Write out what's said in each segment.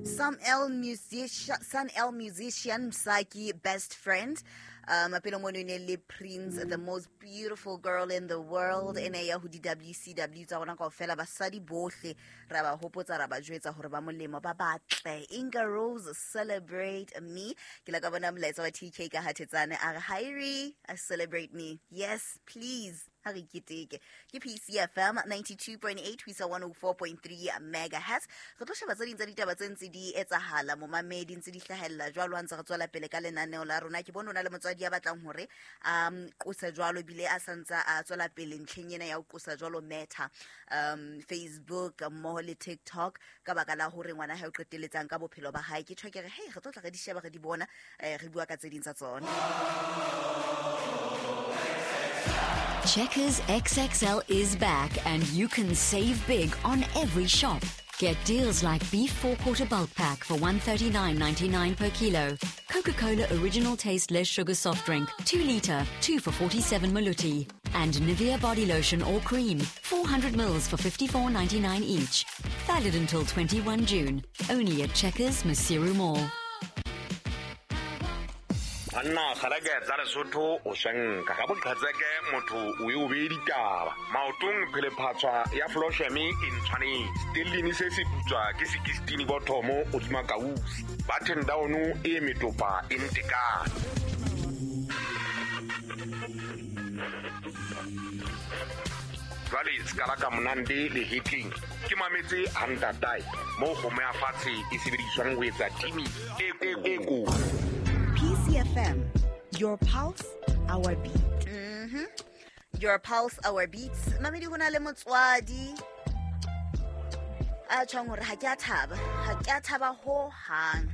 Some L musician, Sun El musician Msaki best friend. Pele mono e ne le Prince, the most beautiful girl in the world, e ne ya ho di-WCW tsa rona kaofela, basadi bohle ra ba hopotsa, ra ba jwetsa hore ba molemo, ba batle. Inga Rose, Celebrate Me. Ke la ka bona molaetsa wa TK ka hathetsane a re, "Hairi, I celebrate me." Yes, please. Ha re keteke. Ke PCFM 92.8 ho isa 104.3 megahertz. Re tlo sheba tse ding tsa ditaba tse ntse di etsahala, momamedi, ntse di hlahella jwalo ha ntse re tswela pele ka lenaneo la rona. Ke bone o na le motswadi ya batlang hore qose jwalo, ebile a santsa a tswela pele ntlheng ena ya ho qosa jwalo Meta, Facebook mmoho le TikTok, ka baka la hore ngwana hae o qeteletsang ka bophelo ba hae. Ke tjho ke re, hey, re tlo tla re di sheba, re di bona, re bua ka tse ding tsa tsona. Checkers XXL is back and you can save big on every shop. Get deals like beef 4-quarter bulk pack for 139.99 per kilo, Coca-Cola original taste less sugar soft drink, 2 liter, 2 for 47 maluti, and Nivea body lotion or cream, 400 mils for 54.99 each. Valid until 21 June. Only at Checkers Maseru Mall. Banna kgalake tsa Lesotho o swenka ka boqhetseke, motho o e o bee ditaba maotong, phelephatshwa ya flosheme e ntshwanetse stellini se se putswa ke sekistini bothomo godima kausi button down e metopa e ntekane. Jwale se ka monande lehetleng ke mametse hantatae moo kgomo ya fatshe e sebediswang ho etsa timi e ko. PCFM, your pulse, our beat. Your pulse, our beats. Mamedi, ho na le motswadi a tjhong hore ha ke a thaba, ha ke a thaba ho hang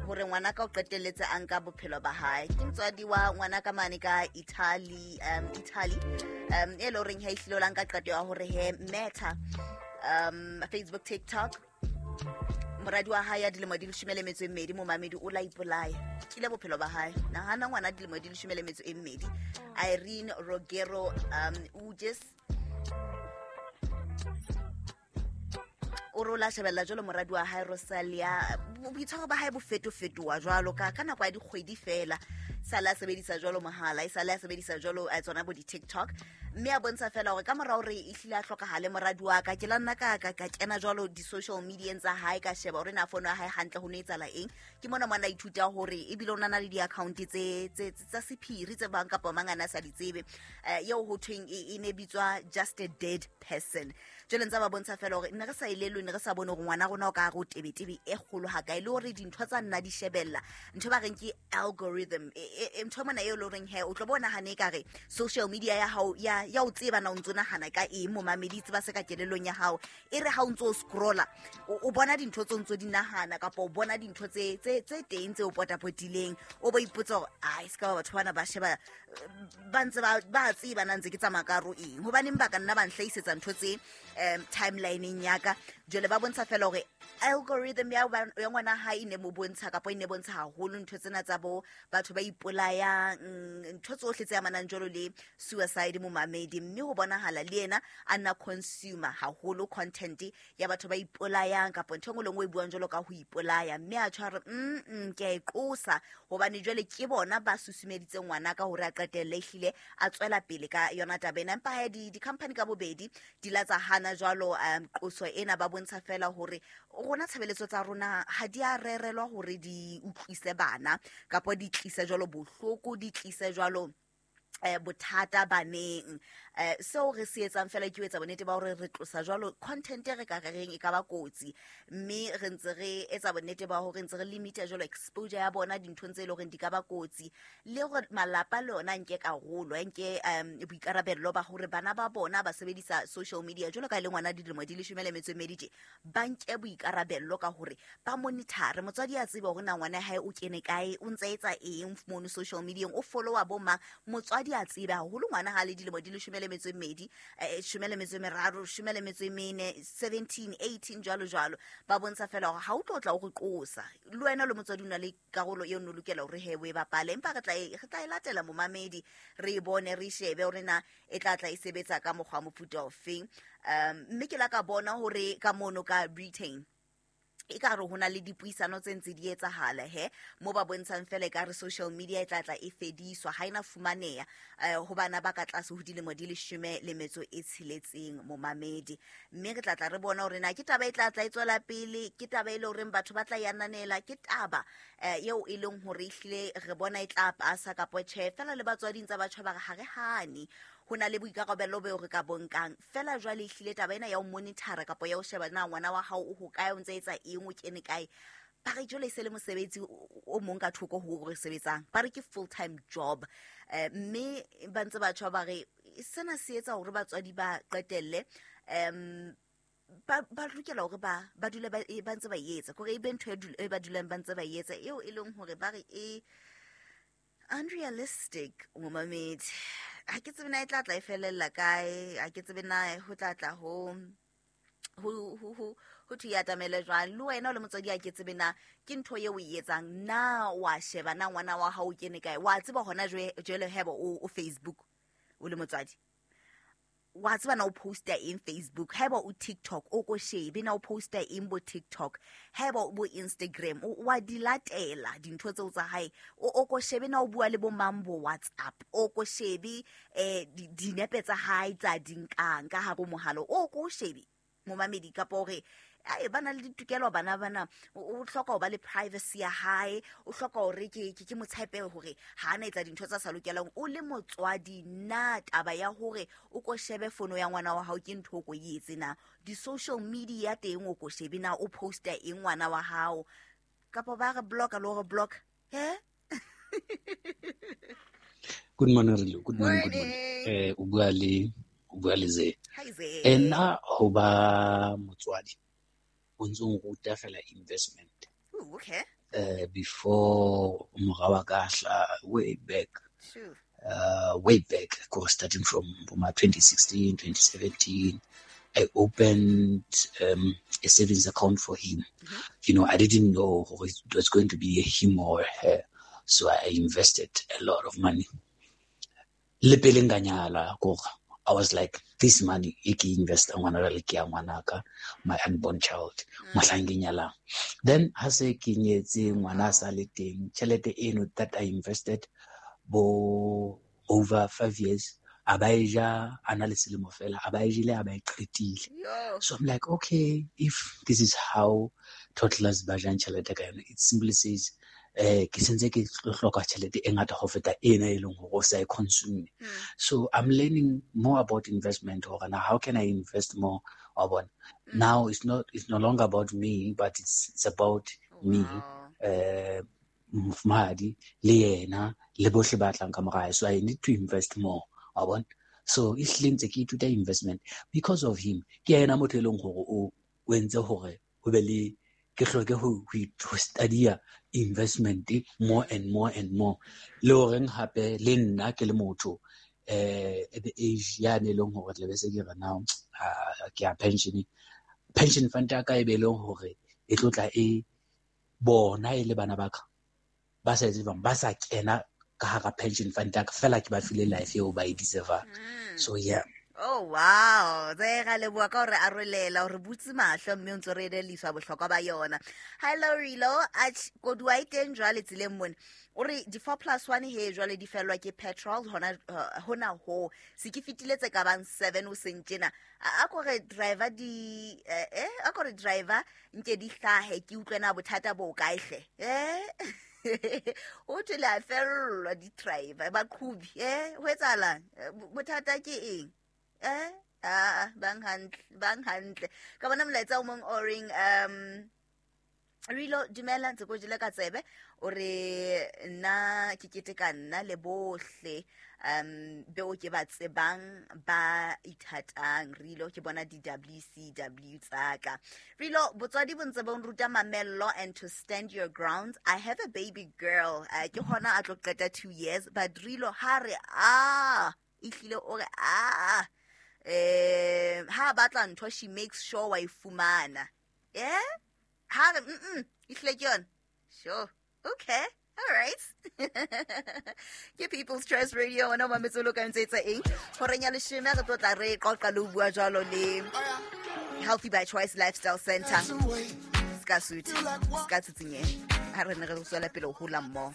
hore ngwana ka o qetelletse a nka bophelo ba hae. Ke motswadi wa ngwana ka mane ka Italy, Italy, e le horeng ha ehlile o la nka qeto ya hore he Meta, Facebook, TikTok, moradi wa hae ya dilemo di 12, momamedi, o la ipolaya kile bophelo ba hae. Nahana, ngwana dilemo di 12, Irene Rogero Ujes, o re o la shebella jwalo moradi wa hae Rosalia, boitshwaro ba hae bo fetofetoha jwalo ka nako ya dikgwedi fela, sale a sebedisa jwalo mohala, e sale a sebedisa jwalo tsona bo di-TikTok, mme a bontsha fela hore ka mora hore e hlile a hlokahale moradi wa ka, ke la nna ka kena jwalo di-social medieng tsa hae, ka sheba hore na fono ya hae hantle ho no etsahala eng. Ke mona mona ithuta hore ebile o na le di-account tsa sephiri tse bang kapa mang a ne a sa di tsebe, eo ho thweng e ne bitswa just a dead person. Jwale ntse ba bontsha fela hore ne re sa elellwe, ne re sa bone hore ngwana rona o ka hare ho tebetebe e kgolo hakae, le hore dintho tsa nna di shebella ntho ba reng ke algorithm, ntho mona eo le horeng he o tlo bona hane ekare social media ya hao ya o tseba na o ntso nahana ka eng, momamedi, tseba se ka kelellong ya hao. E re ha o ntso o scrolla, o bona dintho tse o ntso di nahana, kapa o bona dintho tse teng tse o potapotileng, o bo ipotsa hore ai, se ka ba batho bana ba sheba, ba ntse ba tseba na ntse ke tsamaya ka ro eng, hobaneng ba ka nna ba nhlahisetsa ntho tse timelineng ya ka. Jwale ba bontsha fela hore algorithm ya ngwana hae e ne mo bontsha, kapa e ne bontsha haholo ntho tsena tsa bo batho ba ipolayang, ntho tsohle tse amanang jwalo le suicide, momamedi, mme ho bonahala le yena a nna consumer haholo content ya batho ba ipolayang, kapa ntho e nngwe le nngwe e buang jwalo ka ho ipolaya, mme a tjho a re, ke a e qosa, hobane jwale ke bona ba susumeditse ngwana ka hore a qetelle ehlile a tswela pele ka yona taba ena. Empa he di-company ka bobedi di la tsa hana jwalo qoso ena, ba bontsha fela hore rona tshebeletso tsa rona ha di a rerelwa hore di utlwise bana, kapa di tlise jwalo bohloko, di tlise jwalo bothata baneng. Seo re se etsang fela ke ho etsa bonnete ba hore re tlosa jwalo content e re ka reng e ka ba kotsi, mme re ntse re etsa bonnete ba hore ntse re limita jwalo exposure ya bona dinthong tse e leng hore di ka ba kotsi, le hore malapa le ona nke karolo, a nke boikarabello ba hore bana ba bona ba sebedisa social media jwalo ka e le ngwana dilemo di 12 tje, ba nke boikarabello ka hore ba monitor. Motswadi a tsebe hore na ngwana hae o kene kae, o ntse etsa eng mono social media, o followa bo mang. Motswadi a tsebe haholo ngwana ha le dilemo di 12, 13, 14, 17, 18, jwalo jwalo. Ba bontsha fela hore ha o tlo tla o re qosa, le wena le motswadi o na le karolo eo no lokela hore he o e bapale. Empa re tla e latela, momamedi, re e bone, re shebe hore na e tla tla e sebetsa ka mokgwa wa mofuta ofeng. Mme ke la ka bona hore ka mono ka Britain E ka re ho na le dipuisano tse ntse di etsahala he mo ba bontshang fela e ka re social media e tla tla e fediswa, ha ena fumaneha ho bana ba ka tlase ho dilemo di 16 momamedi. Mme re tla tla re bona hore na ke taba e tla tla e tswela pele, ke taba e le horeng batho ba tla e ananela, ke taba eo e leng hore ehlile re bona e tla pasa kapa tjhe. Fela le batswading tsa batjha ba re ha re hane, ho na le boikarabelo beo re ka bonkang. Fela jwale ehlile taba ena ya ho monitor-a kapa ya ho sheba na ngwana wa hao o hokae, o ntse etsa eng, o kene kae, ba re jwale e se le mosebetsi o mong ka thoko ho re sebetsang, ba re ke full time job. Mme ba ntse batjha ba re sena se etsa hore batswadi ba qetelle ba lokela hore ba dule ba ntse ba e etsa, kore e be ntho e ba dulang ba ntse ba e etsa, eo e leng hore ba re e unrealistic momamedi. Ha ke tsebe na e tla tla e felella kae, ha ke tsebe na ho tla tla ho thwe e atamele jwang. Le wena o le motswadi, ha ke tsebe na ke ntho eo o e etsang na, wa sheba na ngwana wa hao o kene kae, wa tseba hona jwale hebo o Facebook o le motswadi, wa tseba na o posta eng Facebook, haeba o TikTok o ko shebe na o posta eng bo TikTok, haeba o bo Instagram wa di latela dintho tseo tsa hae, o ko shebe na o bua le bo mang bo WhatsApp, o ko shebe dinepe tsa hae tsa di nkang ka hare ho mohala, o ko shebe momamedi, kapa hore ai ba na le ditokelo bana bana, o hloka ho ba le privacy ya hae, o hloka hore ke motshepe hore ha ana etsa dintho tsa sa lokelang. O le motswadi, na taba ya hore o ko shebe fono ya ngwana wa hao ke ntho o ko e etse na, di-social media teng o ko shebe na o posta eng ngwana wa hao, kapa ba re blocka le hore block he. Good morning, Rilo. Good morning, good morning. O bua le Ze. Hi, Ze. Nna ho ba motswadi o ntso nruta fela investment. Ooh, okay. Before mora wa ka hla way back. Sure. Way back, of course, starting from my 2016, 2017, I opened a savings account for him. Mm-hmm. You know, I didn't know it was going to be him or her, so I invested a lot of money. Le pele nka nyala, kore I was like, this money, e ke invest ngwana le ke ya ngwanaka, my unborn child, mohlang ke nyalang. Then ha se ke nyetse ngwana sa le teng, tjhelete eno that I invested bo over 5 years, a ba e ja, a na le selemo fela, a ba e jele, a ba e qetile. So I'm like, okay, if this is how toddlers ba jang tjhelete ka yona, it simply says, ke sentse ke tlo hloka tjhelete e ngata ho feta ena e leng hore o sa e consume. So I'm learning more about investment, hore na how can I invest more wa bona. Now it's no longer about me, but it's about me, mofumahadi le yena le bohle ba tlang ka mora hae. So I need to invest more wa bona. So e hlile ntse ke ithuta investment because of him. Ke yena motho e leng hore o entse hore ho be le ke hloke ho study investment more and more and more. Le horeng hape le nna ke le motho at the age ya ne leng hore tle be se ke re now ke ya pension fund ya ka e be leng hore e tlo tla e bona e le bana ba ka ba sa etse bang ba sa kena ka hara pension fund ya ka fela ke ba file life eo ba e deserve. So yeah. Oh wow, tse ga leboa ka hore arolela hore butse mahlo mme o ntse re edeliswa bohlokwa ba yona. Hello Rilo, koduwa e teng jwale tseleng mone. O re di 4+1 he jwale di fellwa ke petrol hona hona ho. Se ke fetile tse ka bang 7 o seng tjena. A ko re driver di a ko re driver nke di hlahe ke utlwe na bothata bo kae hle. O thwe le a fellwa di driver ba qhubi ho etsahalang? Bothata ke eng? Bang hantle. Ka bona molaetsa o mong o reng Rilo dumela ntse ko jele ka tsebe o re nna ke keteka nna le bohle beo ke ba tsebang ba ithatang. Rilo ke bona di-WCW tsaka. Rilo botswadi bo ntse bo nruta mamello and to stand your ground. I have a baby girl, ke hona a tlo qeta 2 years, but Rilo ha re a ehlile o re a ha batla ntho she makes sure wa e fumana. Ha re ehlile ke yona. Sure. Okay. All right. Ke People's Trust Radio ona mametse lo ka ntse etsa eng? Horeng ya leshome re tlo tla re qoqa le ho bua jwalo le Healthy by Choice Lifestyle Center. Ska sutha, ska tsitsinyeha, ha re ne re tswela pele ho hola mmoho.